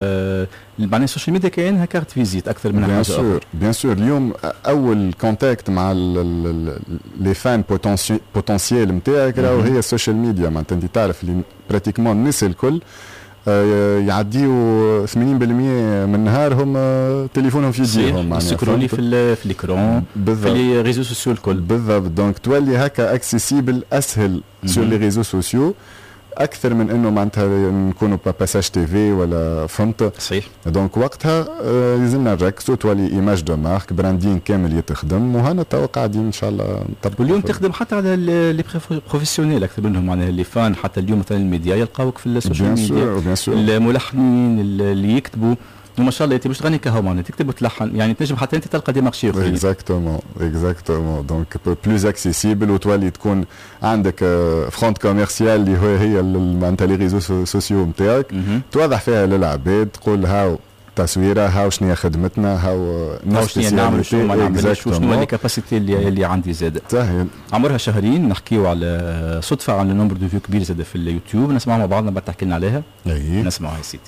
معناها ال social media كانها carte visite اكثر من حاجة اخرى. bien sûr، اليوم اول contact مع les fans potentiels نتاعك راهو هي ال social media. معناتها انت تعرف اللي pratiquement الناس الكل يعديوا 80% من نهارهم تليفونهم في يديهم. معناها يسكرولي في l'écran، في les réseaux sociaux الكل. بالضبط، donc تولي هكا accessible اسهل sur les réseaux sociaux اكثر من انه معناتها نكونوا passage TV ولا، فهمت؟ صحيح. donc وقتها لازمنا نركزوا، تولي image de marque، branding كامل يتخدم، وهنا تو قاعدين ان شاء الله نطبقوا. واليوم تخدم حتى على les professionnels اكثر منهم معناها les fans، حتى اليوم مثلا الميديا يلقاوك في ال social media، الملحنين اللي يكتبوا، وما شاء الله انت مش تغني كهو، معناها تكتب وتلحن، يعني تنجم حتى انت تلقى des marchés اخرين. exactement exactement، donc plus accessible، وتولي تكون عندك front commercial اللي هو هي معناتها les réseaux sociaux نتاعك، توضح فيها للعباد، تقول هاو تصويره، هاو شنو هي خدمتنا، هاو هاو شنو نعمل، شنو ما نعملش، وشنو les capacités اللي عندي زاد. صحيح. عمرها شهرين، نحكيو على صدفه، على nombre de vues كبير زاد في اليوتيوب. نسمعوا مع بعضنا، بعد تحكي لنا عليها. اي. نسمعوا يا سيدي.